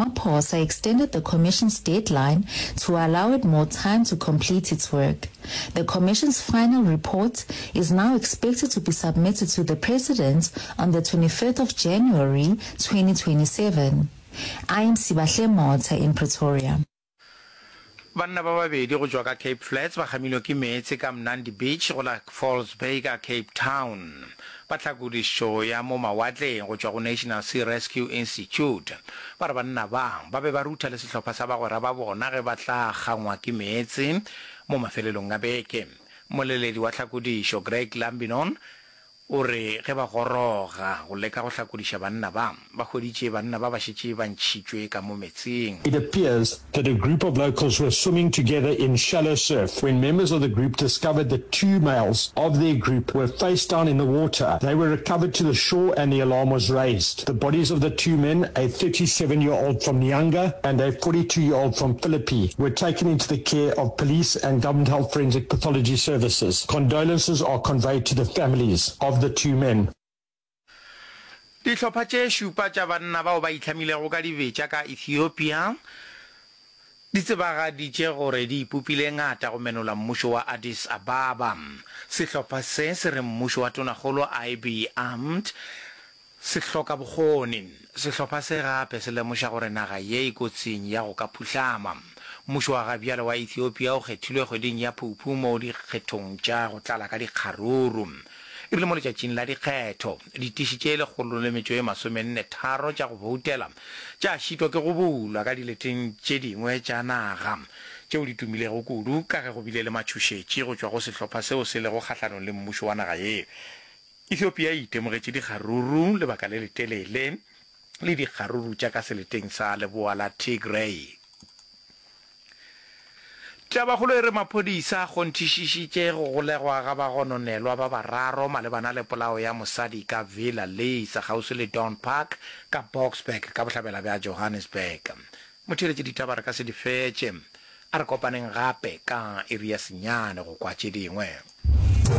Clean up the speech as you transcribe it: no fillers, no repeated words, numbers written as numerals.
Ramaphosa extended the commission's deadline to allow it more time to complete its work. The commission's final report is now expected to be submitted to the president on the 25th of January 2027. I am Sibahle Motha in Pretoria. Banna ba babedi go tšwa ka Cape Flats ba kgamilwe ke meetse ka Mnandi Beach go la False Bay ka Cape Town. Ba tlhakodišo ya mo mawatleng go tšwa go National Sea Rescue Institute ba re banna ba ba be ba rutha le sehlopha sa bagwera ba bona ge ba tla kgangwa ke meetse mo mafelelong a beke. Mmoleledi wa tlhakodišo Greg Lambinon O re ge ba goroga go leka go hlakodiša banna ba, ba hweditše banna ba ba šetše ba ntšhitšwe ka mo metseng. It appears that a group of locals were swimming together in shallow surf when members of the group discovered that two males of their group were face down in the water. They were recovered to the shore and the alarm was raised. The bodies of the two men, a 37 year old from Nyanga and a 42 year old from Philippi, were taken into the care of police and government health forensic pathology services. Condolences are conveyed to the families of the two men. Dihlopha tše šupa tša banna bao ba itlhamilego ka dibetša ka Ethiopia di tsebagaditše gore di ipopile ngata go menola mmušo wa Addis Ababa. Sehlopha se se re mmušo wa Tonakgolo Abiy Ahmed Se hloka bokgoni. Sehlopha se gape se lemoša gore naga ye e kotsing ya go ka phuhlama. Mmušo wa gabjale wa Ethiopia o kgethilwe kgweding ya Phuphu mo dikgethong tša go tlala ka dikgaruru. E rile mo letšatšing la dikgetho, ditiši tše 143 tša go boutela tša šitwa ke go bulwa ka dileteng tše dingwe tša naga tšeo di tumilego kudu ka ge go bile le matšhošetši go tšwa go sehlopha seo se lego kgahlanong le mmušo wa naga ye. Ethiopia e itemogetše dikgaruru lebaka le letelele le dikgaruru tša ka seleteng sa leboa la Tigray. Tabakgolo e re maphodisa a kgonthišišitše go golegwa ga bagononelwa ba bararo malebana le polao ya mosadi ka Villa Lisa kgauswi le Dawn Park ka Boksburg ka bohlabela bja Johannesburg. Motheeletši ditaba re ka se di fetše. A re kopaneng gape ka iri ya senyane go kwa tše dingwe.